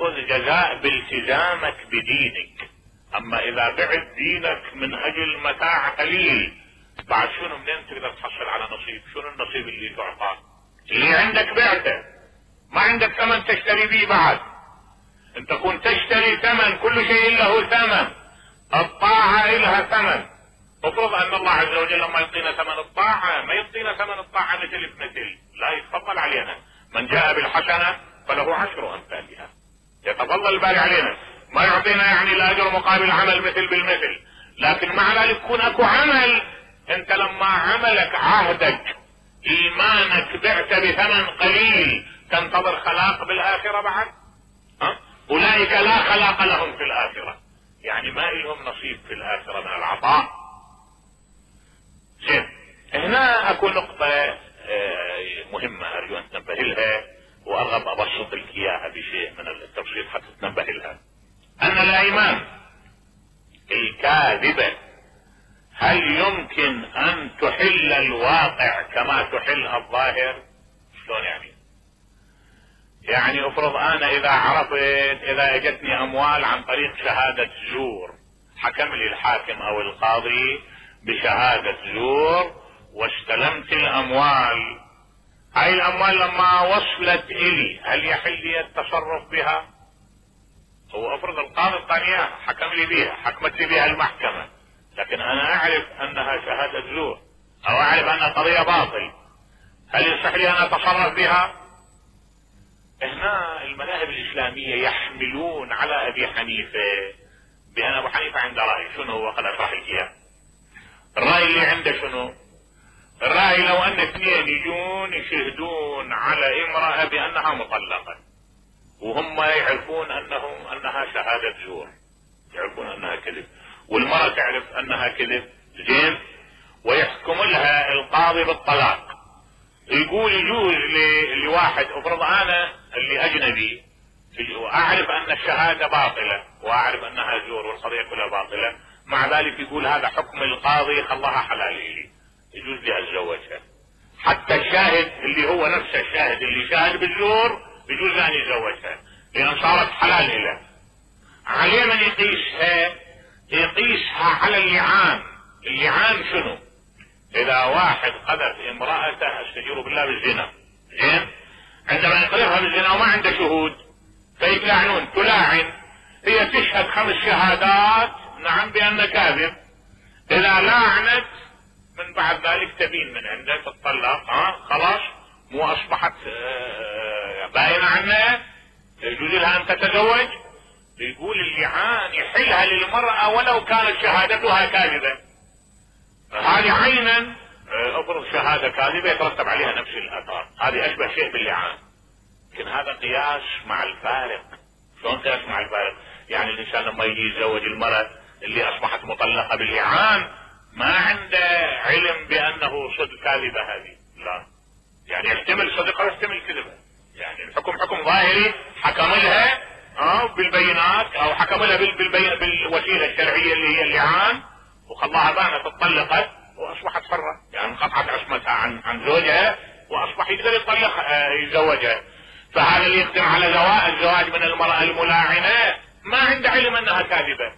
تأخذ جزاء بالتزامك بدينك. اما اذا بعت دينك من اجل متاع قليل، بعد شنو منين تقدر تحصل على نصيب؟ شنو النصيب اللي تعطاه؟ اللي عندك بعته، ما عندك ثمن تشتري به بعد. انت كنت تشتري ثمن، كل شيء له ثمن، الطاعة لها ثمن. افرض ان الله عز وجل لما يعطينا ثمن الطاعة ما يعطينا ثمن الطاعة مثل بمثل، لا يتفضل علينا. من جاء بالحسنة فله 10 امثالها، يتفضل الباري علينا، ما يعطينا يعني الاجر مقابل عمل مثل بالمثل. لكن مع ذلك يكون اكو عمل، انت لما عملك عهدك ايمانك بعت بثمن قليل، تنتظر خلاق بالاخرة بعد؟ اولئك لا خلاق لهم في الاخرة، يعني ما لهم نصيب في الاخرة من العطاء. زين، هنا اكو نقطة مهمة ارجو ان تنبه لها، وارغب ابسط لك اياها بشيء من التبسيط حتى تنبه لها. ان الايمان الكاذبة هل يمكن ان تحل الواقع كما تحل الظاهر؟ شلون يعني؟ يعني افرض انا اذا عرفت، اذا اجتني اموال عن طريق شهادة زور، حكم لي الحاكم او القاضي بشهادة زور واستلمت الاموال، هاي الاموال لما وصلت الي هل يحل لي التصرف بها؟ هو افرض القاضي الثانية حكم لي بها، حكمت لي بها المحكمة، لكن انا اعرف انها شهادة زور او اعرف انها قضية باطل، هل يصح لي ان اتصرف بها؟ هنا المذاهب الاسلامية يحملون على ابي حنيفة بان ابو حنيفة عنده رأي. شنو هو؟ قد اشرح لك اياه. الرأي اللي عنده شنو؟ الرأي لو ان اثنين يجون يشهدون على امرأة بانها مطلقة، وهم يعرفون انها شهادة زور، يعرفون انها كذب، والمرأة تعرف انها كذب، زين، ويحكم لها القاضي بالطلاق. يقول يجوز لواحد، افرض انا اللي اجنبي واعرف ان الشهادة باطلة واعرف انها زور والقضية كلها باطلة، مع ذلك يقول هذا حكم القاضي خلاها حلال لي، يجوز لي اتزوجها. حتى الشاهد اللي هو نفسه الشاهد اللي شاهد بالزور يجوز ان يتزوجها لان صارت حلال له. عليه من يقيسها؟ يقيسها على اللعان. اللعان شنو؟ اذا واحد قذف امرأته استجير بالله بالزنا، زين، عندما يقذفها بالزنا وما عنده شهود فيتلاعنون، تلاعن، هي تشهد 5 شهادات نعم بان كاذب، اذا لاعنت من بعد ذلك تبين من عنده تطلق، خلاص مو اصبحت باينة عنها، يجوز لها ان تتزوج. يقول اللعان يحلها للمرأة ولو كانت شهادتها كاذبة. هذه عينا افرض شهادة كاذبة يترتب عليها نفس الاثار، هذه اشبه شيء باللعان. لكن هذا قياس مع الفارق. شلون قياس مع الفارق؟ يعني الانسان لما يجي يتزوج المرأة اللي اصبحت مطلقة باللعان ما عنده علم بانه صدق كاذبة هذه، لا، يعني يحتمل صدقها ويحتمل كذبة، يعني الحكم حكم ظاهري، حكم لها بالبينات او حكم لها بالوسيلة الشرعية اللي هي اللعان وخلاها بانت اتطلقت واصبحت حرة، يعني انقطعت عصمتها عن زوجها واصبح يقدر يتزوجها. فهذا اللي يقدم على الزواج من المرأة الملاعنة ما عنده علم انها كاذبة،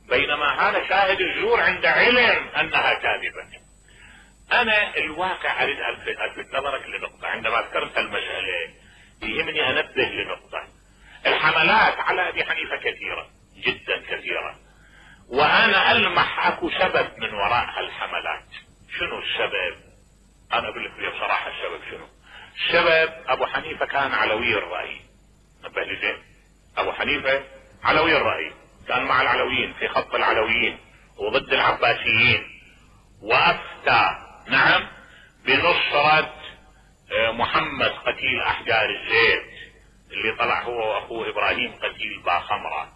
بينما هذا شاهد الزور عنده علم انها كاذبة. انا الواقع اريد الفت نظرك لنقطة. عندما ذكرت المسألة يهمني انبه لنقطة. الحملات على ابي حنيفة كثيرة جدا كثيرة، وانا المح اكو سبب من وراء هالحملات. شنو السبب؟ انا اقول لك بصراحة السبب شنو. السبب ابو حنيفة كان علوي الرأي، نبه لي زين، ابو حنيفة علوي الرأي، كان مع العلويين في خط العلويين وضد العباسيين، وافتى نعم بنصرة محمد قتيل احجار الزيت اللي طلع هو واخوه ابراهيم قتيل باخمرة،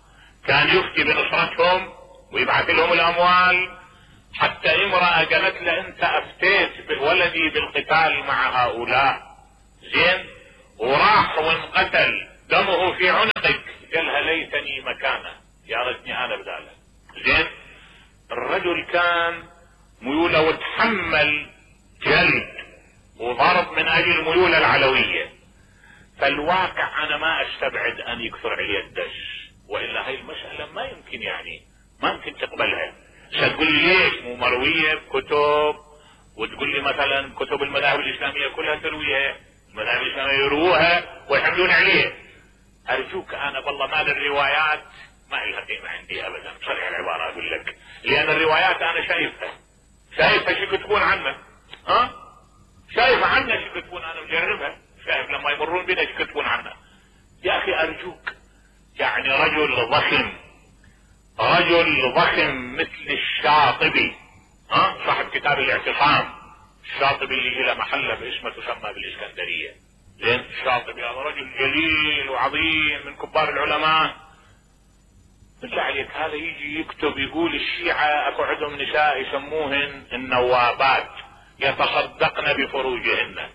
كان يفتي بنصرتهم ويبعث لهم الاموال. حتى امرأة قالت له انت افتيت بولدي بالقتال مع هؤلاء، زين، وراح وانقتل دمه في عنقك، قالها ليتني مكانه، يا ريتني انا بداله، زين. الرجل كان ميوله وتحمل جلد وضرب من اجل ميوله العلوية، فالواقع انا ما استبعد ان يكثر عليه الدش، والا هاي المسألة ما يمكن يعني ما يمكن تقبلها. تقول لي ليش مو مروية بكتب، وتقول لي مثلا كتب المذاهب الاسلامية كلها ترويها، المذاهب الاسلامية يروها ويحملون عليه. ارجوك انا والله مال الروايات ما لها قيمة عندي ابدا، بصريح العبارة اقول لك، لان الروايات انا شايفها شو يكتبون عنه، شايف عنه شو يكتبون، انا مجربها، شايف لما يمرون بنا شو يكتبون عنه. يا اخي ارجوك، يعني رجل ضخم مثل الشاطبي، صاحب كتاب الاعتصام، الشاطبي اللي له محله باسمه تسمى بالاسكندرية، لين الشاطبي هذا رجل جليل وعظيم من كبار العلماء. بالله عليك هذا يجي يكتب يقول الشيعة اكو عندهم نساء يسموهن النوابات يتصدقن بفروجهن.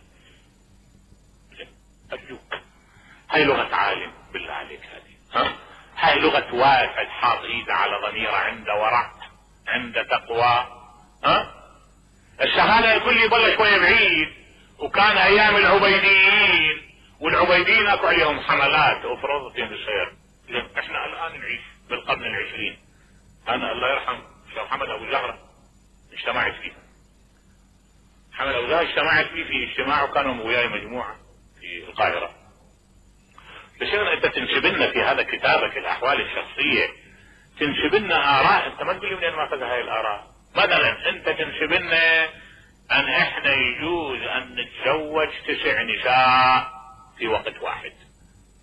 ارجوك هاي لغة عالم بالله عليك، هاي لغة واحد حاط ايده على ضميره، عنده ورع، عنده تقوى. الشهادة يقول لي ضل شوية بعيد، وكان ايام العبيديين، والعبيديين اكو عليهم حملات وفرضتين بالسير. احنا الان نعيش بالقرن العشرين. انا الله يرحم شيخ محمد ابو زهرة اجتمعت فيه، محمد ابو زهرة اجتمعت فيه في اجتماع، وكانوا وياي مجموعة في القاهرة. بس انت تنسب لنا في هذا كتابك الاحوال الشخصية، تنسب لنا اراء، انت ما تقول لي منين ما اخذ هاي الاراء. مثلا انت تنسب لنا ان احنا يجوز ان نتزوج 9 نساء في وقت واحد،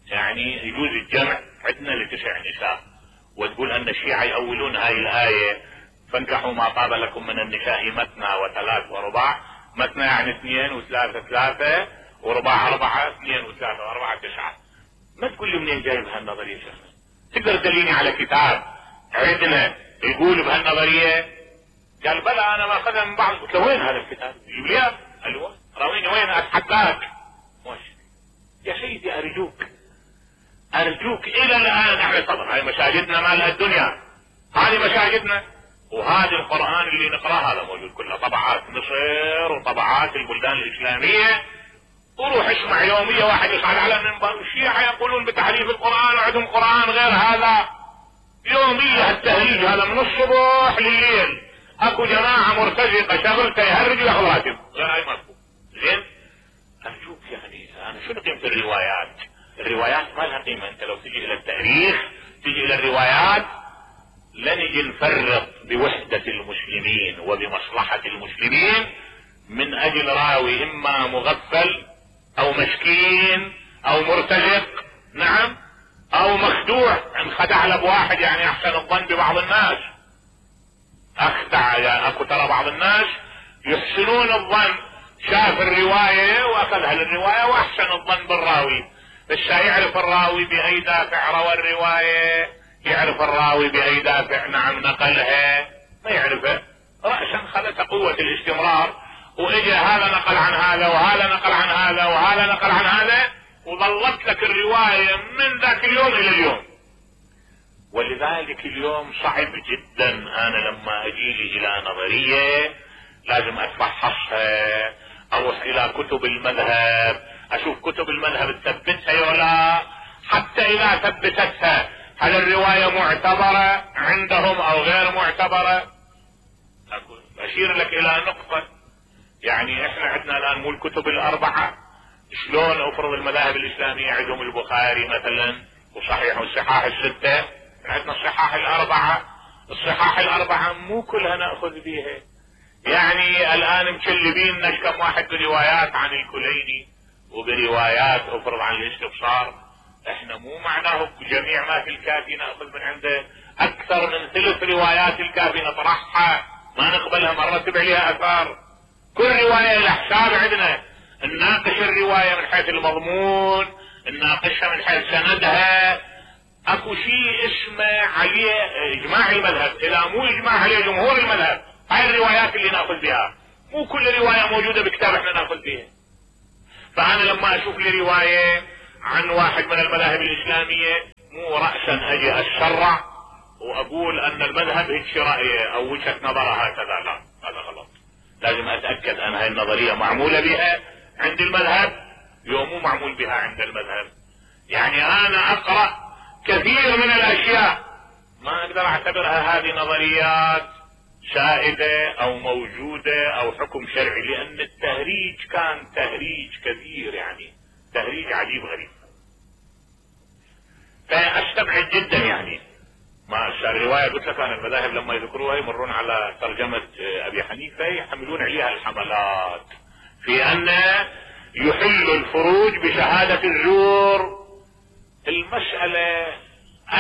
يعني يجوز الجمع عندنا ل9 نساء، وتقول ان الشيعة يأولون هاي الآية فانكحوا ما طاب لكم من النساء مثنى وثلاث ورباع. مثنى يعني 2 وثلاثة 3 ورباع 4، 2 وثلاثة و4 9. ما تقول لي منين جايب هالنظرية شخصا؟ تقدر تدليني على كتاب عندنا يقول بهالنظرية؟ قال بلى انا ما اخذها من بعض. قلت له وين هذا الكتاب؟ يجيب لي الوان راويني وين اتحداك. يا سيدي ارجوك الى الان احنا طبعا هاي مساجدنا ما لها الدنيا، هذه مساجدنا، وهذا القرآن اللي نقراه هذا موجود كله طبعات مصر وطبعات البلدان الاسلامية. وروح اسمع يومية واحد يصعد على المنبر الشيعة يقولون بتحريف القرآن وعندهم قرآن غير هذا، يومية التهريج هذا من الصبح لليل. اكو جماعة مرتزقة شغلته يهرج وياخذ راتب غير هاي مطلوب. زين ارجوك يعني انا شنو قيمة الروايات ما لها قيمة. انت لو تجي الى التاريخ تجي الى الروايات لن نجي نفرط بوحدة المسلمين وبمصلحة المسلمين من اجل راوي اما مغفل او مسكين او مرتزق، نعم، او مخدوع، انخدع له بواحد يعني احسن الظن ببعض الناس، اخدع يعني اكو ترى بعض الناس يحسنون الظن، شاف الرواية واخذها للرواية واحسن الظن بالراوي، بس يعرف الراوي باي دافع روى الرواية، يعرف الراوي باي دافع نعم نقلها، ما يعرفه رأسا خلت قوة الاستمرار، واجا هذا نقل عن هذا وهذا نقل عن هذا وهذا نقل عن هذا، وظلت لك الرواية من ذاك اليوم الى اليوم. ولذلك اليوم صعب جدا انا لما اجيلي الى نظرية لازم اتفحصها، اروح الى كتب المذهب، اشوف كتب المذهب تثبتها ولا، حتى اذا ثبتتها هل الرواية معتبرة عندهم او غير معتبرة. اشير لك الى نقطة، يعني احنا عندنا الان مو الكتب الاربعة، شلون افرض المذاهب الاسلامية عندهم البخاري مثلا وصحيح والصحاح الستة، عندنا الصحاح الاربعة مو كلها نأخذ بيها. يعني الان مكلبين كم واحد بروايات عن الكليني وبروايات افرض عن الاستبصار، احنا مو معناه جميع ما في الكافي نأخذ من عنده، اكثر من 3 روايات الكافي نطرحها ما نقبلها، مرة تبع لها اثار. كل رواية لها حساب عندنا، نناقش الرواية من حيث المضمون، نناقشها من حيث سندها، اكو شيء اسمه عليه اجماع المذهب، الى مو اجماع عليه جمهور المذهب، هاي الروايات اللي ناخذ بها، مو كل رواية موجودة بكتاب احنا ناخذ بها. فانا لما اشوف لي رواية عن واحد من المذاهب الاسلامية مو رأسا اجي اتشرع واقول ان المذهب هيك رأيه او وجهة نظره هكذا، لا هذا غلط. لازم اتأكد ان هاي النظرية معمولة بها عند المذهب، يوم مو معمول بها عند المذهب. يعني انا اقرأ كثير من الاشياء ما اقدر اعتبرها هذه نظريات سائدة او موجودة او حكم شرعي، لان التهريج كان تهريج كثير، يعني تهريج عجيب غريب. فاستبعد جدا يعني ما الرواية قلت لك انا المذاهب لما يذكروها يمرون على ترجمة ابي حنيفة يحملون عليها الحملات في ان يحل الفروج بشهادة الزور. المسألة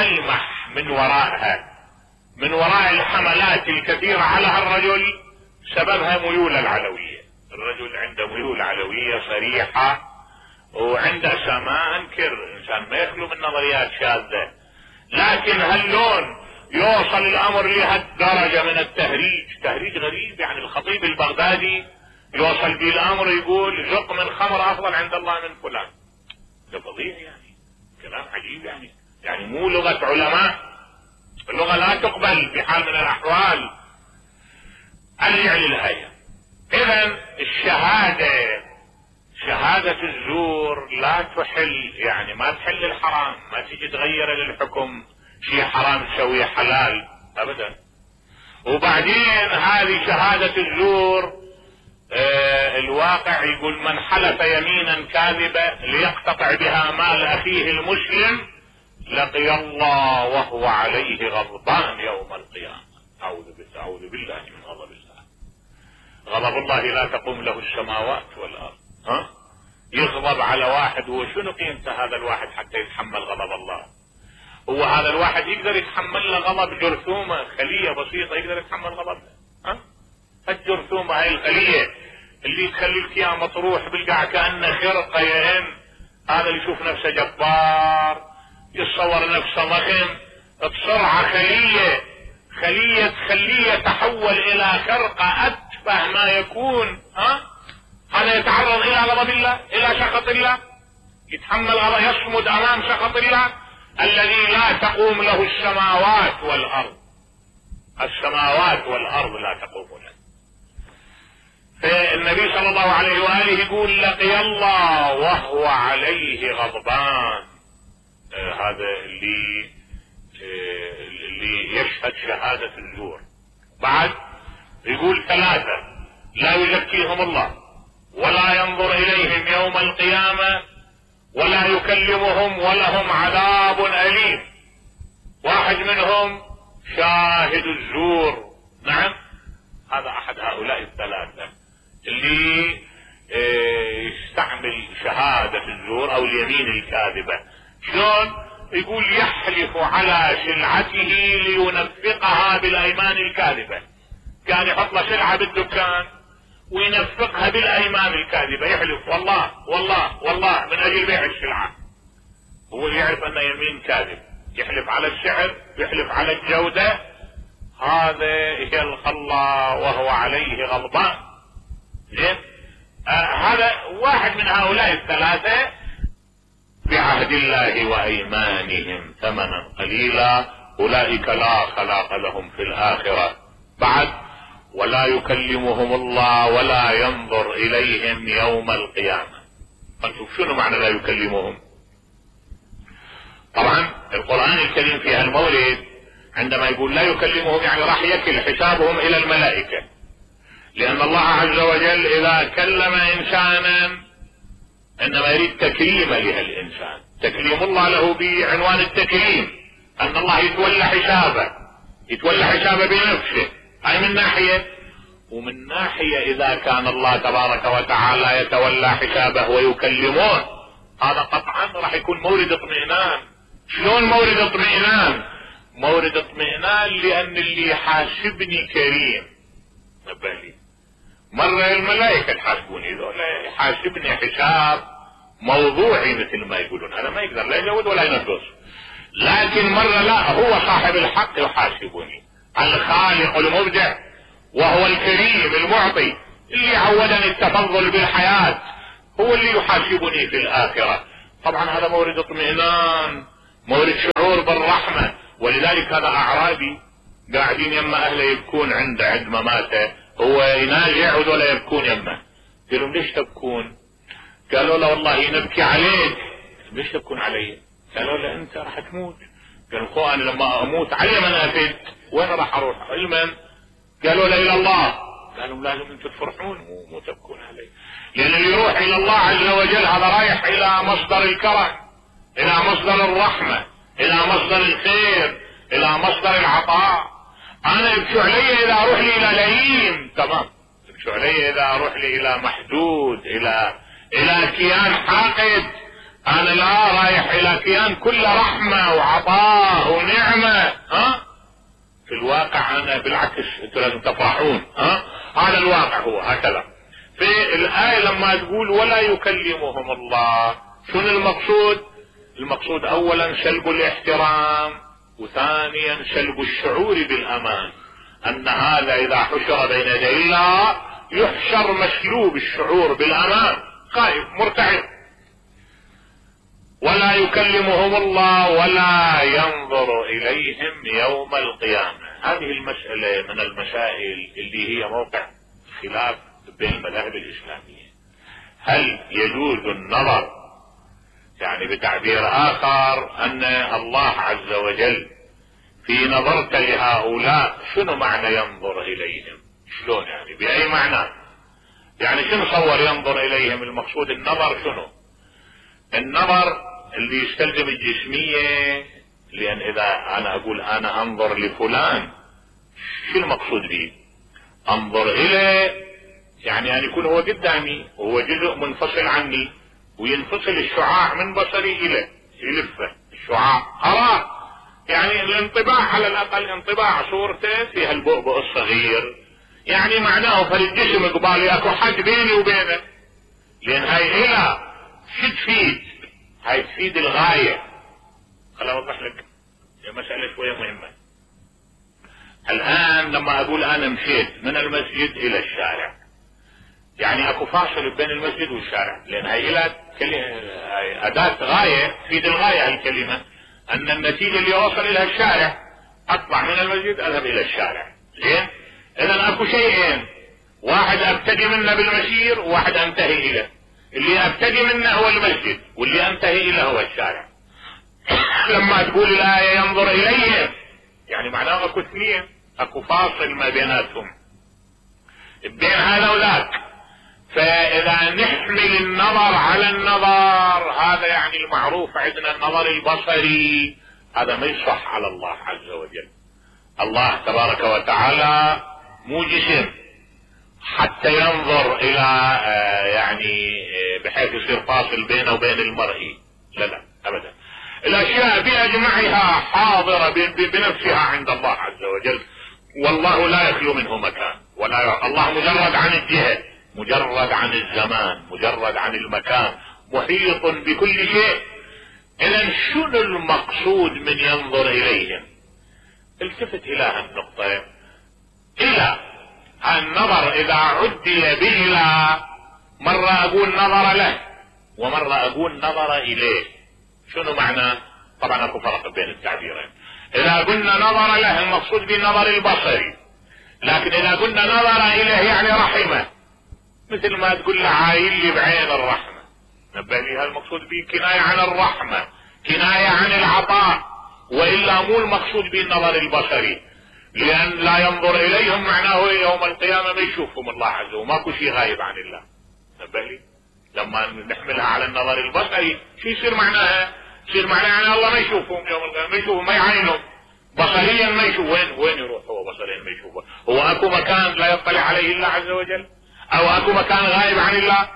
ألمح من وراءها، من وراء الحملات الكثيرة على الرجل سببها ميول العلوية. الرجل عنده ميول علوية صريحة، وعنده ما انكر انسان ما يخلو من نظريات شاذة، لكن هاللون يوصل الامر لهالدرجة من التهريج، تهريج غريب. يعني الخطيب البغدادي يوصل به الامر يقول زق من خمر افضل عند الله من فلان. ده فظيع يعني، كلام عجيب يعني مو لغة علماء، اللغة لا تقبل بحال من الاحوال. ارجع للآية. اذا الشهادة، شهادة الزور لا تحل، يعني ما تحل الحرام، ما تجي تغير للحكم شيء حرام تسويه حلال ابدا. وبعدين هذه شهادة الزور الواقع يقول من حلف يمينا كاذبة ليقتطع بها مال اخيه المسلم لقي الله وهو عليه غضبان يوم القيامة. اعوذ بالله من غضب الله. غضب الله لا تقوم له السماوات والارض. يغضب على واحد، وشنو قيمته هذا الواحد حتى يتحمل غضب الله؟ هو هذا الواحد يقدر يتحمل له غضب جرثومة خلية بسيطة يقدر يتحمل غضبها؟ الجرثومة هاي الخلية اللي تخليك فيها مطروح بالقاع كأنه خرقة يئن، هذا اللي يشوف نفسه جبار يتصور نفسه ضخم، بسرعة خلية تحول الى خرقة اتفه ما يكون. هذا يتعرض الى غضب الله، الى سخط الله، يتحمل غضب، يصمد امام سخط الله الذي لا تقوم له السماوات والارض. السماوات والارض لا تقوم له. فالنبي صلى الله عليه وآله يقول لقي الله وهو عليه غضبان. هذا اللي يشهد شهادة الزور. بعد يقول ثلاثة لا يزكيهم الله ولا ينظر اليهم يوم القيامة ولا يكلمهم ولهم عذاب أليم. واحد منهم شاهد الزور. نعم، هذا احد هؤلاء الثلاثة اللي يستعمل شهادة الزور او اليمين الكاذبة. شلون؟ يقول يحلف على سلعته لينفقها بالايمان الكاذبة. كان يحط له سلعة بالدكان وينفقها بالايمان الكاذبة، يحلف والله والله والله من اجل بيع السلعة. هو يعرف انه يمين كاذب، يحلف على السعر، يحلف على الجودة. هذا يلقى الله وهو عليه غضبان. زين؟ هذا واحد من هؤلاء الثلاثة بعهد الله وايمانهم ثمنا قليلا اولئك لا خلاق لهم في الاخرة. بعد ولا يكلمهم الله ولا ينظر اليهم يوم القيامة. فنشوف شنو معنى لا يكلمهم. طبعا القرآن الكريم في هالمورد عندما يقول لا يكلمهم يعني راح يكل حسابهم الى الملائكة، لان الله عز وجل اذا كلم انسانا انما يريد تكريم لهالانسان. تكريم الله له بعنوان التكريم، ان الله يتولى حسابه بنفسه. هاي من ناحية. ومن ناحية اذا كان الله تبارك وتعالى يتولى حسابه ويكلمون، هذا قطعا راح يكون مورد اطمئنان. شلون مورد اطمئنان؟ مورد اطمئنان لان اللي يحاسبني كريم. نبالي مرة الملائكة تحاسبوني، ذولا يحاسبني حساب موضوعي مثل ما يقولون، هذا ما يقدر لا يزود ولا ينقص. لكن مرة لا، هو صاحب الحق يحاسبني، الخالق المبدع وهو الكريم المعطي اللي عودني التفضل بالحياة، هو اللي يحاسبني في الآخرة. طبعا هذا مورد اطمئنان، مورد شعور بالرحمة. ولذلك هذا أعرابي قاعدين يما أهله يبكون عند مماته، هو ينازع وذولا يبكون يمه. قال لهم ليش تبكون؟ قالوا له والله نبكي عليك. ليش تبكون علي؟ قالوا له انت راح تموت. قالوا انا لما اموت علي من افد؟ وين راح اروح؟ علما. قالوا له الى الله. قالوا لازم انتم تفرحون مو تبكون علي، لان اللي يروح الى الله عز وجل هذا رايح الى مصدر الكرم، الى مصدر الرحمة، الى مصدر الخير، الى مصدر العطاء. انا يبكوا علي اذا اروح لي الى لئيم، تمام، يبكوا علي اذا اروح لي الى محدود، الى كيان حاقد. انا لا رايح الى كيان كله رحمة وعطاء ونعمة. في الواقع انا بالعكس انتم لازم تفرحون. هذا الواقع هو هكذا. في الآية لما تقول ولا يكلمهم الله، شنو المقصود؟ المقصود اولا سلب الاحترام، وثانيا سلب الشعور بالامان، ان هذا اذا حشر بين يدي الله يحشر مسلوب الشعور بالامان، خائف مرتعب. ولا يكلمهم الله ولا ينظر اليهم يوم القيامة. هذه المسألة من المسائل اللي هي موقع خلاف بين المذاهب الاسلامية. هل يجوز النظر، يعني بتعبير اخر ان الله عز وجل في نظرت لهؤلاء، شنو معنى ينظر اليهم؟ شلون يعني؟ باي معنى؟ يعني شنو صور ينظر اليهم؟ المقصود النظر شنو؟ النظر اللي يستلزم الجسمية، لان اذا انا اقول انا انظر لفلان، شو المقصود به؟ انظر اليه يعني ان يكون هو قدامي وهو جزء منفصل عني، وينفصل الشعاع من بصري اليه، يلفه الشعاع اراه، يعني الانطباع على الاقل انطباع صورته فيها البؤبؤ الصغير، يعني معناه فالجسم قبالي اكو حد بيني وبينه، لان هاي الى شو تفيد؟ هاي تفيد الغاية. خليني اوضح لك مسألة شوية مهمة. الان لما اقول انا مشيت من المسجد الى الشارع، يعني اكو فاصل بين المسجد والشارع، لان هاي الى اداة غاية تفيد الغاية. الكلمة ان النتيجة اللي اوصل الى الشارع، اطلع من المسجد اذهب الى الشارع. زين؟ اذا اكو شيئين، واحد ابتدي منه بالمسير وواحد انتهي اليه. اللي ابتدي منه هو المسجد، واللي انتهي اليه هو الشارع. لما تقول الآية ينظر اليهم، يعني معناه اكو اثنين، اكو فاصل ما بيناتهم بين هذا وذاك. فاذا نحمل النظر على النظر، هذا يعني المعروف عندنا النظر البصري، هذا ما يصح على الله عز وجل. الله تبارك وتعالى مو جسم حتى ينظر الى يعني بحيث يصير فاصل بينه وبين المرئي، لا ابدا. الاشياء باجمعها حاضرة بنفسها عند الله عز وجل، والله لا يخلو منه مكان، ولا الله مجرد عن الجهة، مجرد عن الزمان، مجرد عن المكان، محيط بكل شيء. اذا شنو المقصود من ينظر اليهم؟ التفت الى هالنقطة. الى النظر اذا عدي بإلى، مرة اقول نظر له ومرة اقول نظر اليه. شنو معنى؟ طبعا اكو فرق بين التعبيرين. اذا قلنا نظر له المقصود بالنظر البصري، لكن اذا قلنا نظر اليه يعني رحمه، مثل ما تقول له عايل لي بعين الرحمة، نبه لي المقصود به كناية عن الرحمة، كناية عن العطاء، والا مو المقصود بالنظر البصري، لان لا ينظر اليهم معناه يوم القيامة ما يشوفهم الله عز وجل، ماكو شيء غايب عن الله. نبه لي لما نحملها على النظر البصري شو يصير معناها؟ يصير معناها ان الله ما يشوفهم يوم القيامة، ما يشوفهم، ما يعينهم بصريا، ما يشوف. وين يروح هو بصريا ما يشوفه؟ هو اكو مكان لا يطلع عليه الله عز وجل؟ او اكو مكان غايب عن الله؟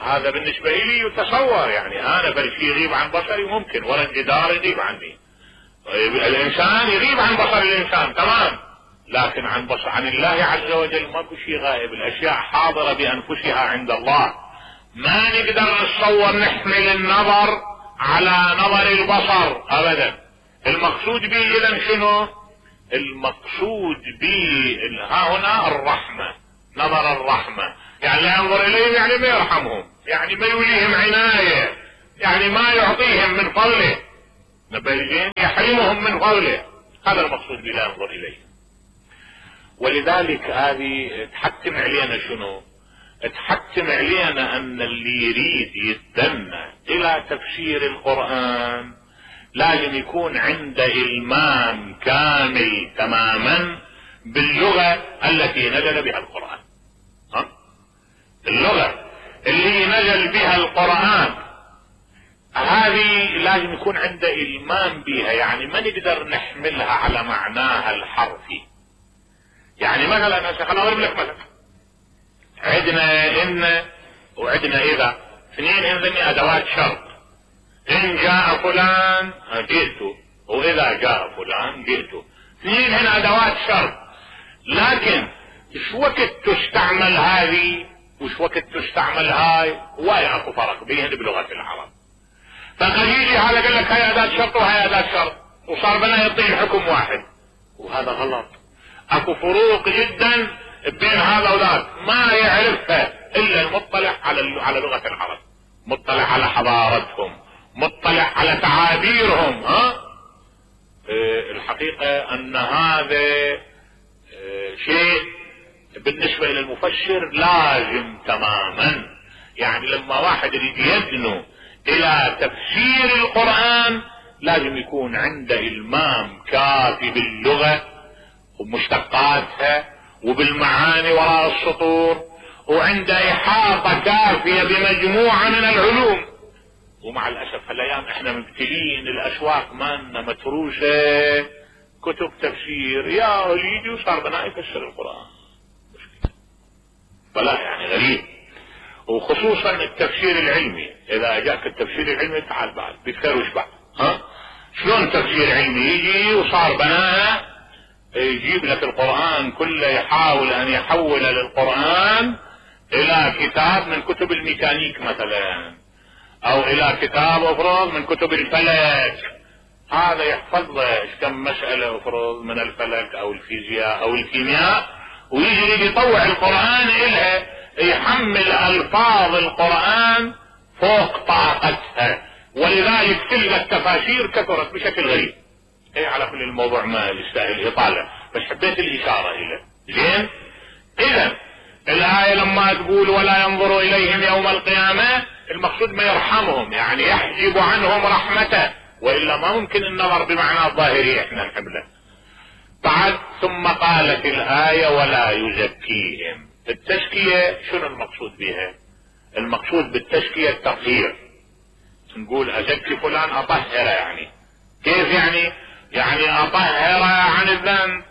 هذا بالنسبة لي يتصور، يعني انا بالشيء يغيب عن بصري ممكن، ولا الجدار يغيب عني، الانسان يغيب عن بصر الانسان تمام، لكن عن الله عز وجل ماكو شيء غائب، الاشياء حاضرة بانفسها عند الله. ما نقدر نتصور نحمل النظر على نظر البصر ابدا. المقصود به اذا شنو؟ المقصود به ها هنا الرحمة، نظر الرحمة، يعني لا ينظر اليهم يعني ما يرحمهم، يعني ما يوليهم عناية، يعني ما يعطيهم من فضله، نبهين يحرمهم من فضله، هذا المقصود به لا ينظر اليهم. ولذلك هذه تحتم علينا شنو؟ تحتم علينا ان اللي يريد يتدنى الى تفسير القرآن لازم يكون عنده إلمام كامل تماما باللغة التي نزل بها القرآن. اللغة اللي نزل بها القرآن هذه لازم يكون عنده إلمام بها، يعني ما نقدر نحملها على معناها الحرفي. يعني مثلا خليني اضرب لك مثلا، عندنا ان وعندنا اذا، اثنين هذني ادوات شرط. ان جاء فلان جئت، واذا جاء فلان جئت. اثنين هنا ادوات شرط، لكن ايش وقت تستعمل هذه وش وقت تستعمل هاي ويا اكو فرق بيهن بلغة العرب. فقد يجي هذا قال لك هاي اداة شرط وهاي اداة شرط وصار بنا يعطي الحكم واحد، وهذا غلط. اكو فروق جدا بين هذا وذاك ما يعرفها الا المطلع على لغة العرب، مطلع على حضارتهم، مطلع على تعابيرهم. الحقيقة ان هذا شيء بالنسبة الى المفسر لازم تماما. يعني لما واحد يريد يدنو الى تفسير القرآن لازم يكون عنده المام كافي باللغة ومشتقاتها وبالمعاني وراء السطور، وعنده احاطة كافية بمجموعة من العلوم. ومع الاسف هالايام احنا مبتلين الاسواق مالنا متروسة كتب تفسير، يا يجي وصار بنا يفسر القرآن فلا يعني غريب. وخصوصا التفسير العلمي، اذا جاك التفسير العلمي تعال بعد بيتكروش بعد. شلون تفسير علمي يجي وصار بناء يجيب لك القرآن كله، يحاول ان يحول للقرآن الى كتاب من كتب الميكانيك مثلا، او الى كتاب افرض من كتب الفلك. هذا يحفظ له كم مسألة افرض من الفلك او الفيزياء او الكيمياء، ويجي يطوع القرآن الها، يحمل الفاظ القرآن فوق طاقتها، ولذلك تلقى التفاسير كثرت بشكل غريب. على كل الموضوع ما يستاهل اطالة، بس حبيت الاشارة اليه. زين، اذا الآية لما تقول ولا ينظر اليهم يوم القيامة، المقصود ما يرحمهم، يعني يحجب عنهم رحمته، والا ما ممكن النظر بمعنى الظاهري احنا نحمله. بعد ثم قالت الآية ولا يزكيهم. التزكية شنو المقصود بها؟ المقصود بالتزكية التطهير. نقول ازكي فلان اطهره، يعني كيف يعني؟ يعني اطهره عن الذنب،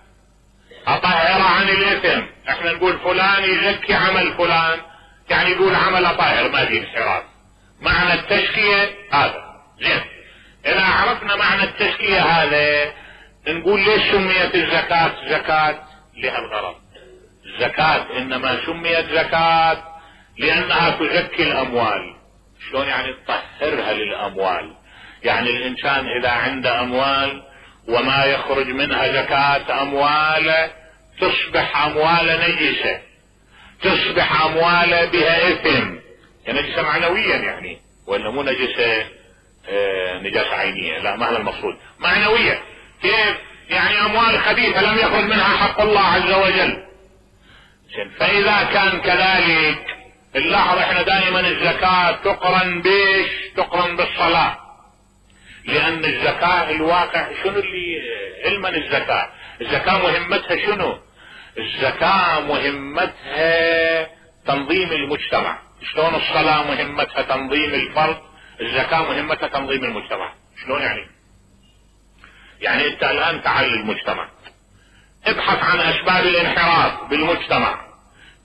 اطهره عن الاثم. احنا نقول فلان يزكي عمل فلان، يعني يقول عمل طاهر ما فيه انحراف. معنى التزكية هذا. زين، اذا عرفنا معنى التزكية هذا نقول ليش سميت الزكاة زكاة؟ لها الغرض. الزكاة انما سميت زكاة لانها تزكي الاموال. شلون يعني؟ تطهرها للاموال. يعني الانسان اذا عنده اموال وما يخرج منها زكاة امواله تصبح امواله نجسة، تصبح امواله بها اثم، يعني نجسة معنويا يعني، ولا مو نجسة نجاسة عينية، لا ما هذا المقصود، معنوية. كيف يعني؟ اموال خبيثة لم يخرج منها حق الله عز وجل. فاذا كان كذلك نلاحظ احنا دائما الزكاة تقرن بيش؟ تقرن بالصلاة، لان الزكاة الواقع شنو اللي علما الزكاة مهمتها شنو؟ الزكاة مهمتها تنظيم المجتمع. شلون الصلاة مهمتها تنظيم الفرد، الزكاة مهمتها تنظيم المجتمع. شلون يعني؟ يعني انت الان تعال للمجتمع، ابحث عن اسباب الانحراف بالمجتمع،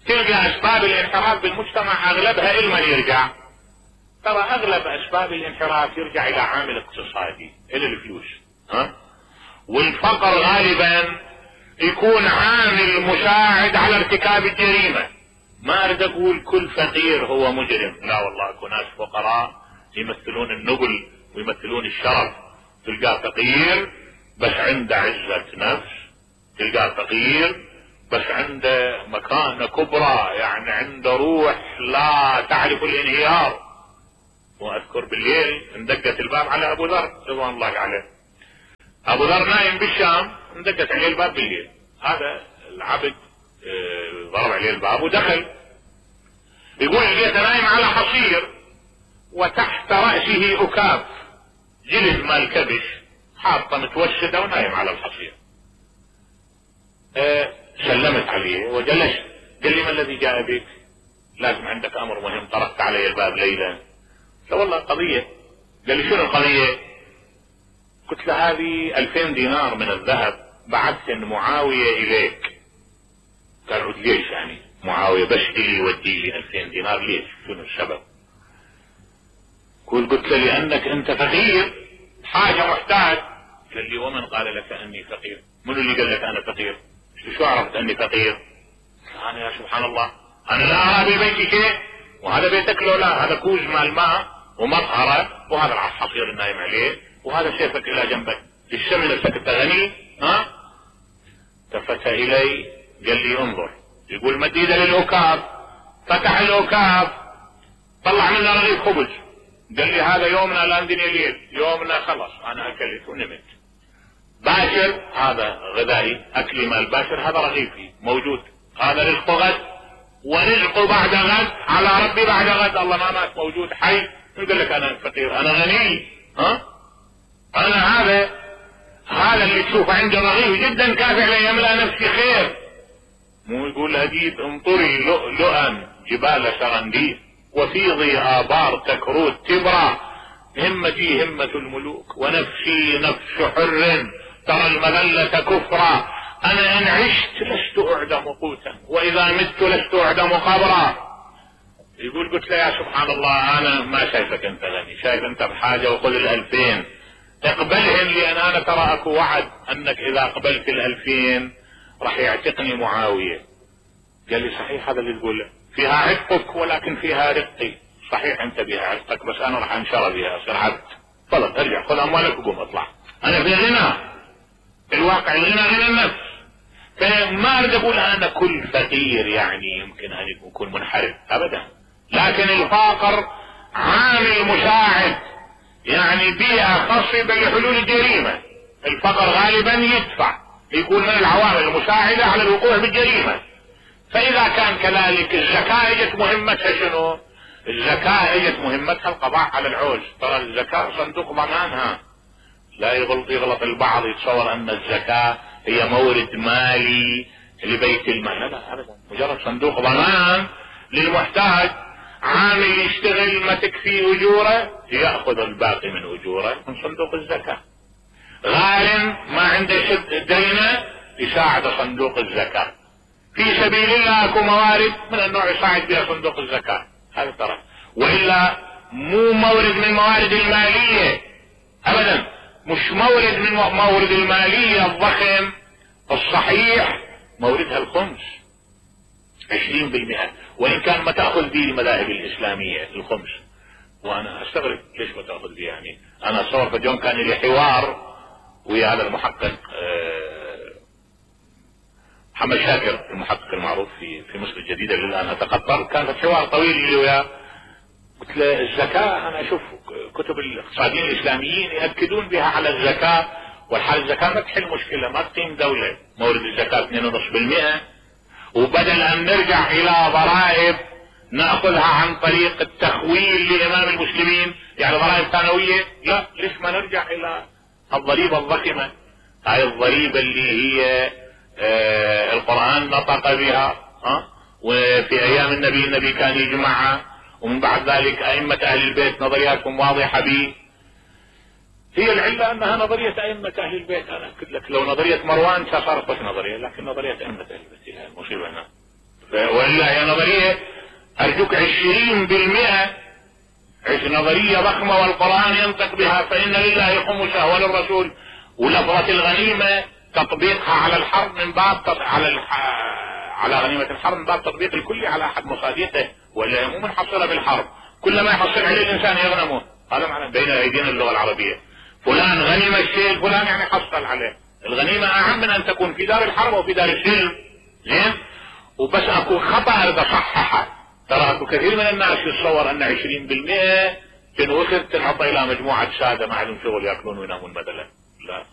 تلقى اسباب الانحراف بالمجتمع اغلبها الى من يرجع؟ ترى اغلب اسباب الانحراف يرجع الى عامل اقتصادي، الى الفلوس. والفقر غالبا يكون عامل مساعد على ارتكاب الجريمة. ما اريد اقول كل فقير هو مجرم، لا والله اكو ناس فقراء يمثلون النبل ويمثلون الشرف. تلقى فقير بس عنده عزة نفس، تلقى فقير بس عنده مكانة كبرى، يعني عنده روح لا تعرف الانهيار. واذكر بالليل اندقت الباب على ابو ذر رضوان الله عليه، ابو ذر نايم بالشام، اندقت عليه الباب بالليل، هذا العبد ضرب عليه الباب ودخل. يقول لقيته نايم على حصير وتحت رأسه أكاف جلد مال كبش حاطه متوشده ونايم على الحصير. سلمت عليه وجلست. قال لي ما الذي جاء بك؟ لازم عندك امر مهم، طرقت علي الباب ليلا. قال والله قضية. قال لي شنو القضية؟ قلت له هذه 2000 دينار من الذهب بعثت معاوية اليك. قال عود ليش يعني معاوية بس اللي يودي لي 2000 دينار ليش؟ شنو السبب؟ قلت له لانك انت فقير حاجة محتاج. قال لي ومن قال لك اني فقير؟ منو اللي قال لك انا فقير؟ شو عرفت اني فقير؟ انا يا سبحان الله انا لا ارى ببيتي شيء، وهذا بيتك لو لا، هذا كوز مال ماء ومطهرة، وهذا الحصير النايم عليه، وهذا سيفك الى جنبك، الشمل نفسك انت غني؟ ها؟ التفت الي قال لي انظر. يقول مد ايده للعكاف، فتح العكاف طلع منه رغيف خبز. قال لي هذا يومنا لاندني الليل، يومنا خلص انا اكلت ونمت. باشر هذا غذائي، اكلي مال باشر، هذا رغيفي موجود، هذا رزق غد ورزق بعد غد على ربي بعد غد، الله ما مات موجود حي. يقول لك انا فقير انا غني؟ ها؟ انا هذا اللي تشوفه عنده رغيف جدا كافي ليملأ نفسي خير. مو يقول هديد انطري لؤلؤا جبال سرنديد وفيضي آبار تكروت تبرى، همتي همة الملوك ونفسي نفس حر ترى المذلة كفرا، انا ان عشت لست اعدم قوتا واذا مت لست اعدم قبرا. يقول قلت له يا سبحان الله انا ما شايفك انت غني، شايف انت بحاجة وخذ 2000 اقبلهم، لان انا ترى اكو وعد انك اذا قبلت 2000 راح يعتقني معاوية. قال لي صحيح هذا اللي تقوله، فيها عتقك ولكن فيها رقي. صحيح انت بها عتقك بس انا راح انشر بها اصير عبد. خلاص ارجع خذ اموالك وقوم اطلع، انا في غنى. الواقع الغنى غنى النفس. فما اريد اقول انا كل فقير يعني يمكن ان يكون منحرف ابدا، لكن الفقر عامل مساعد، يعني بيئة خصبة لحلول الجريمة. الفقر غالبا يدفع، يكون من العوامل المساعدة على الوقوع بالجريمة. فاذا كان كذلك الزكاة اجت مهمتها شنو؟ الزكاة اجت مهمتها القضاء على العوز. ترى الزكاة صندوق ضمانها، لا يغلط البعض يتصور ان الزكاة هي مورد مالي لبيت المال، لا ابدا، مجرد صندوق ضمان للمحتاج. عامل يشتغل ما تكفي اجوره ياخذ الباقي من اجوره من صندوق الزكاة. غارم ما عنده شد دينه يساعد صندوق الزكاة. في سبيل الله اكو موارد من النوع يساعد بها صندوق الزكاة، هذا ترى، والا مو مورد من الموارد المالية ابدا، مش مورد من مورد المالية الضخم الصحيح، موردها الخمس 20%، وان كان ما تأخذ به المذاهب الاسلامية الخمس. وانا استغرب ليش ما تأخذ به، يعني انا اتصور في اليوم كان لي حوار ويا هذا المحقق محمد شاكر المحقق المعروف في مصر الجديدة اللي الان اتقطر، كان في حوار طويل لي وياه. قلت له الزكاة انا اشوف كتب الاقتصاديين الاسلاميين يأكدون بها على الزكاة، والحال الزكاة ما تحل مشكلة، ما تقيم دولة. مورد الزكاة 2.5%، وبدل ان نرجع الى ضرائب نأخذها عن طريق التخويل لامام المسلمين، يعني ضرائب ثانوية، لا ليش ما نرجع الى الضريبة الضخمة، هاي الضريبة اللي هي القرآن نطق بها، وفي ايام النبي كان يجمعها، ومن بعد ذلك ائمة اهل البيت نظرياتهم واضحة به. هي العلة انها نظرية ائمة اهل البيت. انا اكد لك لو نظرية مروان صارت بس نظرية، لكن نظرية ائمة اهل البيت هي المصيبة هنا. وإلا هي نظرية ارجوك 20% نظرية ضخمة والقرآن ينطق بها، فإن لله خمسه وللرسول، ولفظة الغنيمة تطبيقها على الحرب من باب على غنيمة الحرب من باب تطبيق الكل على احد مصادقه، ولا مو منحصرة بالحرب، كلما يحصل عليه الانسان يغنمه. هذا معنى بين ايدينا اللغة العربية، فلان غنم الشيء فلان يعني حصل عليه. الغنيمة اهم من ان تكون في دار الحرب او في دار السلم، زين؟ وبس اكو خطأ اريد اصححه. ترى اكو كثير من الناس يتصور ان 20% تنوخذ تنحط الى مجموعة سادة ما عندهم شغل ياكلون وينامون بدلا، لا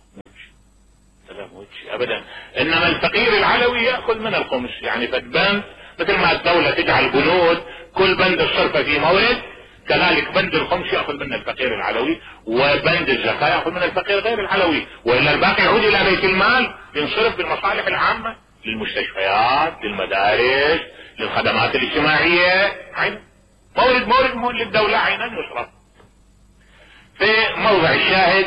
ابدا. انما الفقير العلوي ياخذ من الخمس، يعني فدبان مثل ما الدولة تجعل بنود كل بند الصرفة في مورد، كذلك بند الخمس يأخذ من الفقير العلوي، وبند الزكاة يأخذ من الفقير غير العلوي، وإلا الباقي يعود إلى بيت المال ينصرف بالمصالح العامة، للمستشفيات، للمدارس، للخدمات الاجتماعية. مورد للدولة عينا يصرف. في موضع الشاهد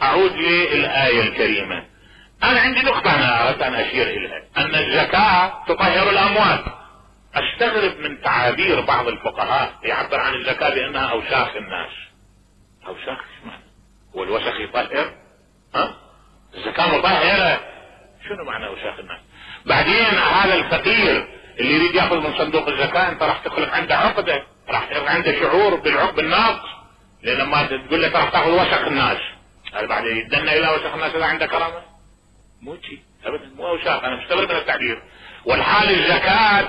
أعود للآية الكريمة. أنا عندي نقطة أنا أردت أن أشير إليها، أن الزكاة تطهر الأموال. أستغرب من تعابير بعض الفقهاء يعبر عن الزكاة بأنها أوساخ الناس. أوساخ ايش معنى؟ هو الوسخ يطهر؟ الزكاة مطهرة. شنو معنى أوساخ الناس؟ بعدين هذا الفقير اللي يريد يأخذ من صندوق الزكاة أنت راح تخلق عنده عقدة، راح يخلق عنده شعور بالعقد الناقص، لأن لما تقول لك راح تأخذ وسخ الناس، هذا بعد يدنا إلى وسخ الناس إذا عنده كرامة؟ مو شيء أبدا، مو أوساخ. أنا مستغرب من التعبير. والحال الزكاة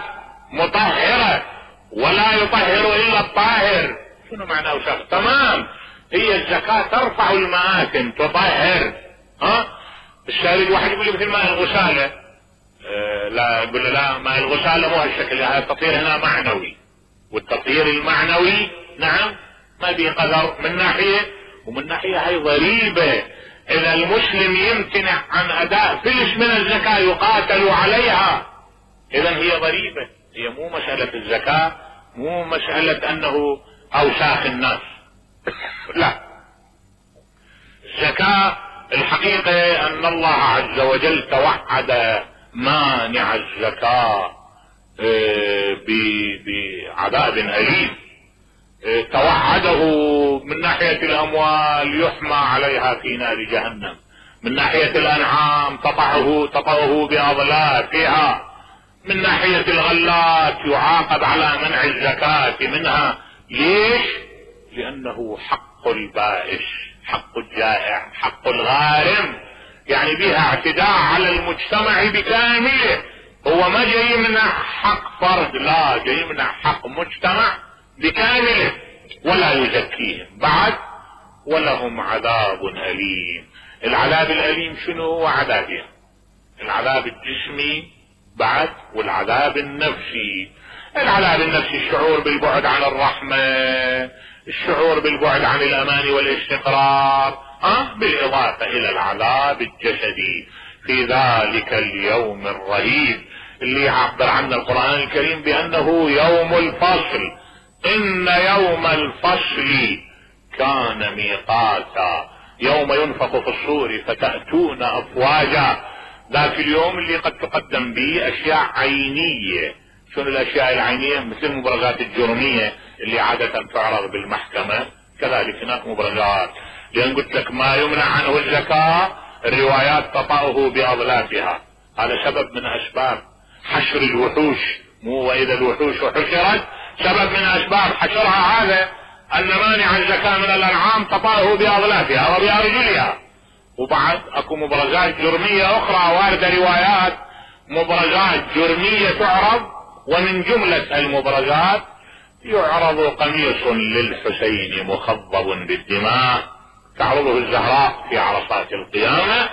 مطهرة ولا يطهر إلا الطاهر. شنو معنى أوساخ؟ تمام، هي الزكاة ترفع المآثم تطهر. الشارد واحد يقول لي مثل ماء الغسالة، لا يقول له لا، ماء الغسالة مو هالشكل، هذا التطهير هنا معنوي، والتطهير المعنوي نعم ما به قدر من ناحية، ومن ناحية هي ضريبة. إذا المسلم يمتنع عن أداء فلس من الزكاة يقاتل عليها، إذا هي ضريبة. هي مو مسألة الزكاة، مو مسألة أنه أوساخ الناس لا. الزكاة الحقيقة أن الله عز وجل توعد مانع الزكاة بعذاب أليم، توعده من ناحية الأموال يحمى عليها في نار جهنم، من ناحية الأنعام تطعه بأضلافها، من ناحية الغلات يعاقب على منع الزكاة منها. ليش؟ لأنه حق البائس، حق الجائع، حق الغارم، يعني بها اعتداء على المجتمع بكامله. هو ما جاي يمنع حق فرد، لا، جاي يمنع حق مجتمع بكامله، ولا يزكيهم بعد ولهم عذاب أليم. العذاب الأليم شنو هو؟ عذابين، العذاب الجسمي بعد، والعذاب النفسي. العذاب النفسي الشعور بالبعد عن الرحمة، الشعور بالبعد عن الأمان والاستقرار، بالإضافة إلى العذاب الجسدي في ذلك اليوم الرهيب اللي يعبر عنه القرآن الكريم بأنه يوم الفصل. إن يوم الفصل كان ميقاتا، يوم ينفخ في الصور فتأتون أفواجا. ذاك اليوم اللي قد تقدم به أشياء عينية. شنو الأشياء العينية؟ مثل المبرزات الجرمية اللي عادة تعرض بالمحكمة، كذلك هناك مبرزات. لأن قلت لك ما يمنع عنه الزكاة، الروايات تطأه بأضلافها. هذا سبب من أسباب حشر الوحوش، مو وإذا الوحوش حشرت، سبب من أسباب حشرها هذا أن مانع الزكاة من الأنعام تطأه بأضلافها وبأرجلها. وبعد اكو مبرزات جرمية أخرى واردة روايات مبرزات جرمية تعرض، ومن جملة المبرزات يعرض قميص للحسين مخضب بالدماء تعرضه الزهراء في عرصات القيامة.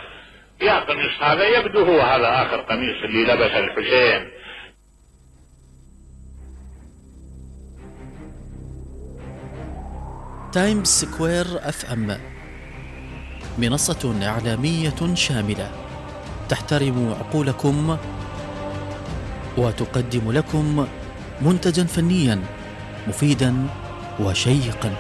يا قميص هذا يبدو هو هذا آخر قميص اللي لبس الحسين. تايمز سكوير FM منصة إعلامية شاملة تحترم عقولكم وتقدم لكم منتجا فنيا مفيدا وشيقا.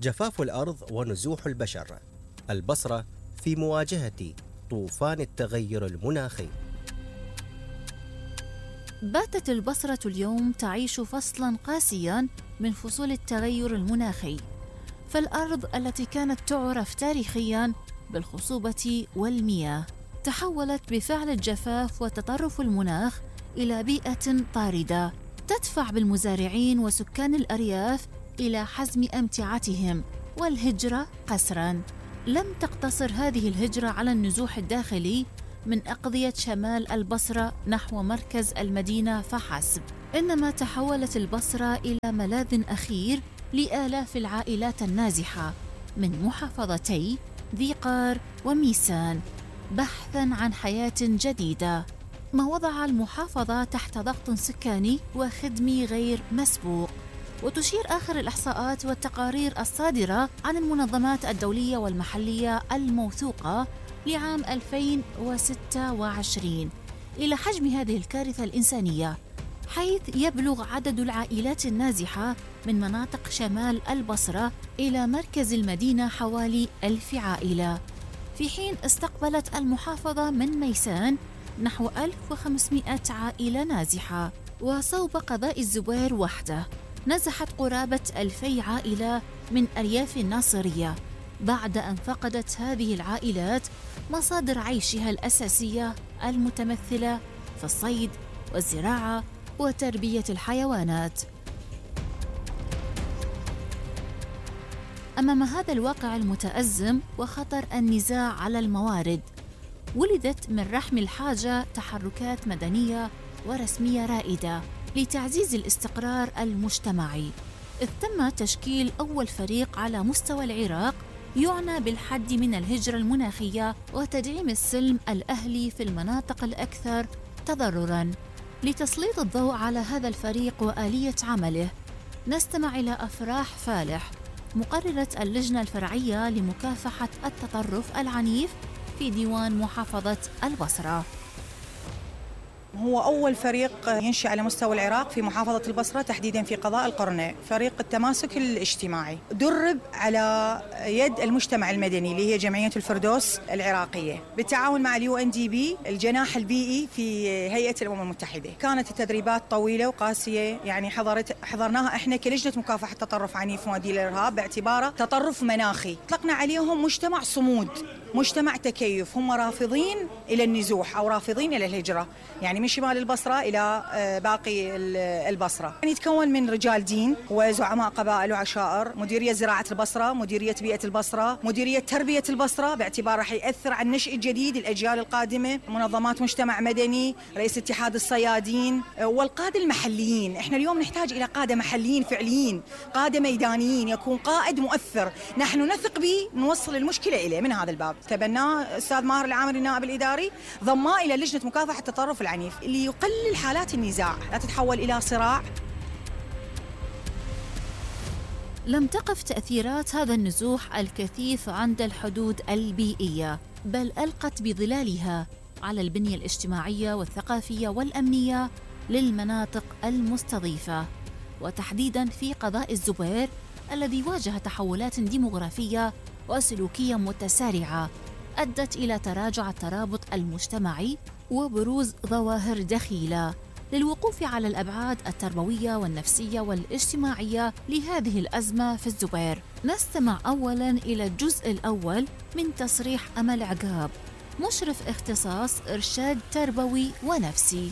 جفاف الأرض ونزوح البشر، البصرة في مواجهة طوفان التغير المناخي. باتت البصرة اليوم تعيش فصلاً قاسياً من فصول التغير المناخي، فالأرض التي كانت تعرف تاريخياً بالخصوبة والمياه تحولت بفعل الجفاف وتطرف المناخ إلى بيئة طاردة تدفع بالمزارعين وسكان الأرياف إلى حزم أمتعتهم والهجرة قسراً. لم تقتصر هذه الهجرة على النزوح الداخلي من أقضية شمال البصرة نحو مركز المدينة فحسب، إنما تحولت البصرة إلى ملاذ أخير لآلاف العائلات النازحة من محافظتي ذي قار وميسان بحثاً عن حياة جديدة، ما وضع المحافظة تحت ضغط سكاني وخدمي غير مسبوق. وتشير آخر الإحصاءات والتقارير الصادرة عن المنظمات الدولية والمحلية الموثوقة لعام 2026 إلى حجم هذه الكارثة الإنسانية، حيث يبلغ عدد العائلات النازحة من مناطق شمال البصرة إلى مركز المدينة حوالي 1000 عائلة، في حين استقبلت المحافظة من ميسان نحو 1500 عائلة نازحة. وصوب قضاء الزبير وحده نزحت قرابة 2000 عائلة من أرياف الناصرية بعد أن فقدت هذه العائلات مصادر عيشها الأساسية المتمثلة في الصيد والزراعة وتربية الحيوانات. أمام هذا الواقع المتأزم وخطر النزاع على الموارد، ولدت من رحم الحاجة تحركات مدنية ورسمية رائدة لتعزيز الاستقرار المجتمعي، إذ تم تشكيل أول فريق على مستوى العراق يعنى بالحد من الهجرة المناخية وتدعيم السلم الأهلي في المناطق الأكثر تضرراً. لتسليط الضوء على هذا الفريق وآلية عمله، نستمع إلى أفراح فالح، مقررة اللجنة الفرعية لمكافحة التطرف العنيف في ديوان محافظة البصرة. هو أول فريق ينشأ على مستوى العراق في محافظة البصرة تحديداً في قضاء القرنة، فريق التماسك الاجتماعي، درب على يد المجتمع المدني اللي هي جمعية الفردوس العراقية بالتعاون مع UNDP الجناح البيئي في هيئة الأمم المتحدة. كانت التدريبات طويلة وقاسية، يعني حضرناها احنا كلجنة مكافحة التطرف عنيف ومؤدي للإرهاب باعتباره تطرف مناخي. اطلقنا عليهم مجتمع صمود، مجتمع تكيف، هم رافضين إلى النزوح أو رافضين إلى الهجرة، يعني من شمال البصرة إلى باقي البصرة. يعني يتكون من رجال دين وزعماء قبائل وعشائر، مديرية زراعة البصرة، مديرية بيئة البصرة، مديرية تربية البصرة باعتبار راح يأثر على النشء الجديد الأجيال القادمة، منظمات مجتمع مدني، رئيس اتحاد الصيادين والقادة المحليين. احنا اليوم نحتاج إلى قادة محليين فعليين، قادة ميدانيين، يكون قائد مؤثر نحن نثق به نوصل المشكلة إليه. من هذا الباب تبناه أستاذ ماهر العامري النائب الإداري، ضماه إلى لجنة مكافحة التطرف العنيف اللي يقلل حالات النزاع لا تتحول إلى صراع. لم تقف تأثيرات هذا النزوح الكثيف عند الحدود البيئية، بل ألقت بظلالها على البنية الاجتماعية والثقافية والأمنية للمناطق المستضيفة، وتحديداً في قضاء الزبير الذي واجه تحولات ديموغرافية وسلوكية متسارعة أدت إلى تراجع الترابط المجتمعي وبروز ظواهر دخيلة. للوقوف على الأبعاد التربوية والنفسية والاجتماعية لهذه الأزمة في الزبير، نستمع أولاً إلى الجزء الأول من تصريح أمل عقاب، مشرف اختصاص إرشاد تربوي ونفسي.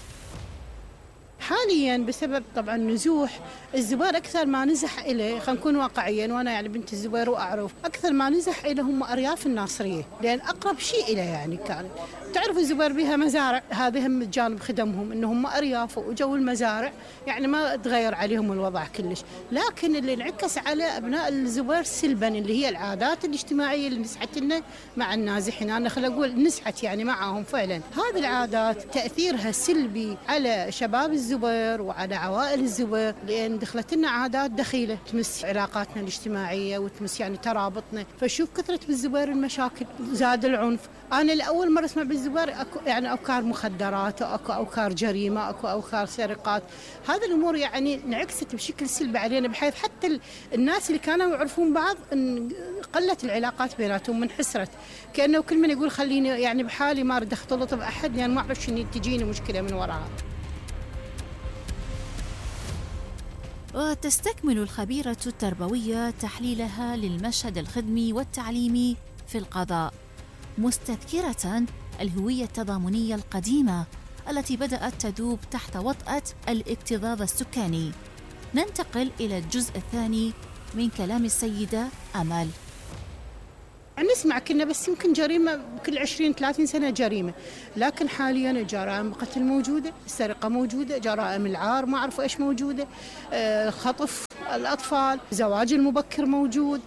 حاليا بسبب طبعا نزوح الزبير أكثر ما نزح إليه، خلينا نكون واقعيين، وأنا يعني بنت الزبير وأعرف أكثر ما نزح إليه هم أرياف الناصرية، لأن أقرب شيء إليه. يعني كان تعرف الزبير بها مزارع، هذه هم جانب خدمهم إنهم أرياف وجو المزارع، يعني ما تغير عليهم الوضع كلش. لكن اللي انعكس على أبناء الزبير سلبا اللي هي العادات الاجتماعية اللي نسحت لنا مع النازحين. أنا خل أقول نسحت يعني معهم فعلا. هذه العادات تأثيرها سلبي على شباب الزبير وعلى عوائل الزبير، لأن دخلت لنا عادات دخيلة تمس علاقاتنا الاجتماعية وتمس يعني ترابطنا. فشوف كثرة بالزبير المشاكل، زاد العنف. أنا لأول مرة أسمع بالزبير يعني أوكار مخدرات، أو أوكار جريمة، أو أوكار سرقات. هذه الأمور يعني انعكست بشكل سلبي علينا، بحيث حتى الناس اللي كانوا يعرفون بعض قلت العلاقات بيناتهم، منحسرت، كأنه كل من يقول خليني يعني بحالي ما أريد أختلط بأحد لأن يعني ما أعرف شنو تجيني مشكلة من وراها. وتستكمل الخبيرة التربوية تحليلها للمشهد الخدمي والتعليمي في القضاء، مستذكرة الهوية التضامنية القديمة التي بدأت تذوب تحت وطأة الاكتظاظ السكاني. ننتقل إلى الجزء الثاني من كلام السيدة أمل. نسمع كنا بس يمكن جريمة كل 20-30 سنة جريمة، لكن حاليا جرائم القتل موجودة، السرقة موجودة، جرائم العار ما أعرف إيش موجودة، خطف الأطفال، زواج المبكر موجود.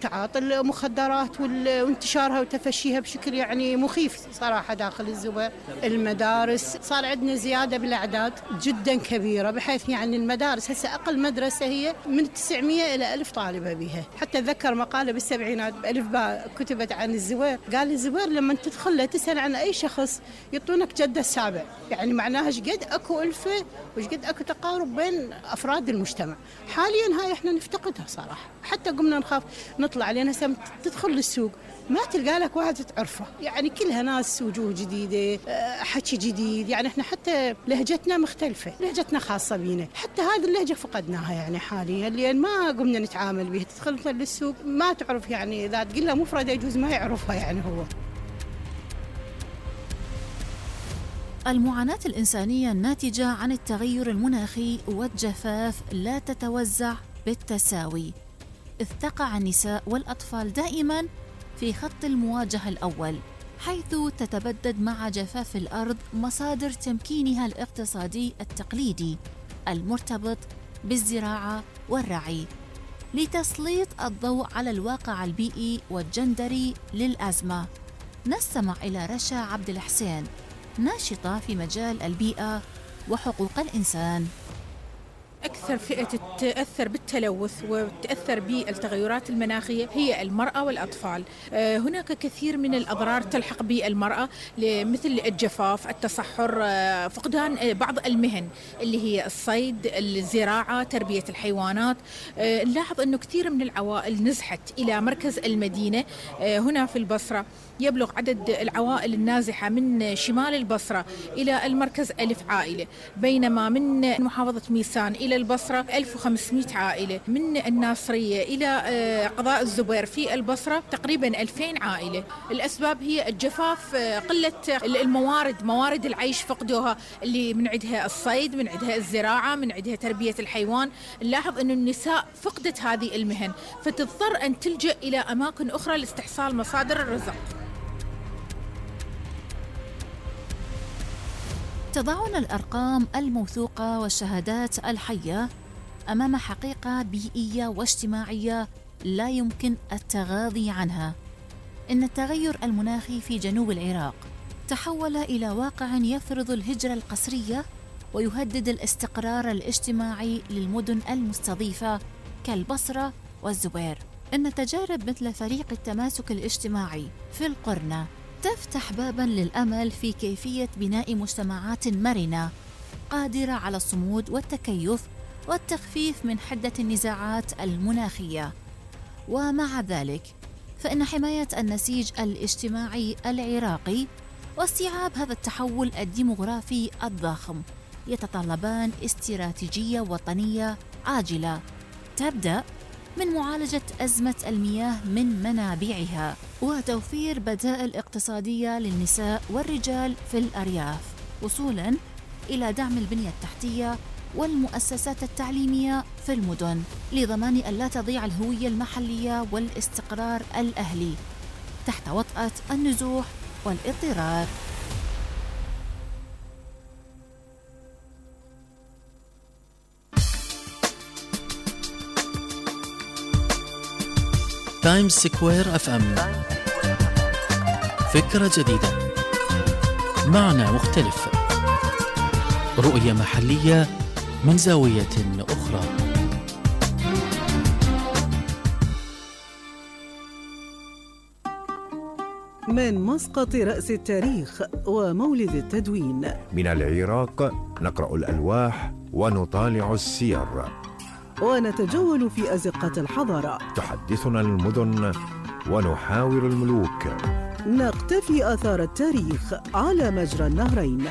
تعاطي المخدرات وانتشارها وتفشيها بشكل يعني مخيف صراحة داخل الزبير. المدارس صار عندنا زيادة بالأعداد جدا كبيرة، بحيث يعني المدارس هسه أقل مدرسة هي من 900 إلى 1000 طالبة بها. حتى أتذكر مقالة بالسبعينات بألف باء كتبت عن الزوير، قال الزوير لما تدخل له تسأل عن أي شخص يعطونك جدة السابع، يعني معناها شقد أكو ألفة وشقد أكو تقارب بين أفراد المجتمع. حاليا هاي إحنا نفتقدها صراحة، حتى قمنا نخاف نطلع لأن هسه تدخل للسوق ما تلقى لك واحد تعرفه، يعني كلها ناس وجوه جديدة، حكي جديد، يعني احنا حتى لهجتنا مختلفة، لهجتنا خاصة بينا، حتى هذه اللهجة فقدناها يعني حاليا لأن ما قمنا نتعامل بها. تدخل مثلا للسوق ما تعرف، يعني إذا تقول له مفردة يجوز ما يعرفها يعني هو. المعاناة الإنسانية الناتجة عن التغير المناخي والجفاف لا تتوزع بالتساوي، إذ تقع النساء والأطفال دائماً في خط المواجهة الأول، حيث تتبدد مع جفاف الأرض مصادر تمكينها الاقتصادي التقليدي المرتبط بالزراعة والرعي. لتسليط الضوء على الواقع البيئي والجندري للأزمة، نستمع إلى رشا عبد الحسين، ناشطة في مجال البيئة وحقوق الإنسان. أكثر فئة تتأثر بالتلوث وتتأثر بالتغيرات المناخية هي المرأة والأطفال. هناك كثير من الأضرار تلحق بالمرأة مثل الجفاف، التصحر، فقدان بعض المهن اللي هي الصيد، الزراعة، تربية الحيوانات. نلاحظ أنه كثير من العوائل نزحت إلى مركز المدينة. هنا في البصرة يبلغ عدد العوائل النازحة من شمال البصرة إلى المركز 1000 عائلة، بينما من محافظة ميسان إلى البصرة 1500 عائلة، من الناصرية إلى قضاء الزبير في البصرة تقريبا 2000 عائلة. الأسباب هي الجفاف، قلة الموارد، موارد العيش فقدوها، اللي من عندها الصيد، من عندها الزراعة، من عندها تربية الحيوان. نلاحظ أن النساء فقدت هذه المهن، فتضطر أن تلجأ إلى أماكن أخرى لاستحصال مصادر الرزق. تضعنا الأرقام الموثوقة والشهادات الحية أمام حقيقة بيئية واجتماعية لا يمكن التغاضي عنها. إن التغير المناخي في جنوب العراق تحول إلى واقع يفرض الهجرة القسرية ويهدد الاستقرار الاجتماعي للمدن المستضيفة كالبصرة والزبير. إن تجارب مثل فريق التماسك الاجتماعي في القرنة تفتح باباً للأمل في كيفية بناء مجتمعات مرنة قادرة على الصمود والتكيف والتخفيف من حدة النزاعات المناخية. ومع ذلك فإن حماية النسيج الاجتماعي العراقي واستيعاب هذا التحول الديموغرافي الضخم يتطلبان استراتيجية وطنية عاجلة تبدأ من معالجة أزمة المياه من منابعها وتوفير بدائل اقتصادية للنساء والرجال في الأرياف، وصولاً إلى دعم البنية التحتية والمؤسسات التعليمية في المدن لضمان أن لا تضيع الهوية المحلية والاستقرار الأهلي تحت وطأة النزوح والاضطرار. تايمز سكوير اف ام، فكرة جديدة، معنى مختلف، رؤية محلية من زاوية أخرى. من مسقط رأس التاريخ ومولد التدوين، من العراق نقرأ الألواح ونطالع السير ونتجول في أزقة الحضارة. تحدثنا المدن ونحاور الملوك، نقتفي آثار التاريخ على مجرى النهرين.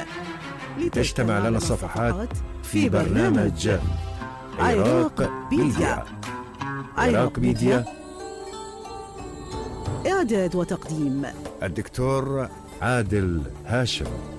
تجتمع لنا الصفحات في برنامج عراق ميديا. عراق ميديا، إعداد وتقديم الدكتور عادل هاشم.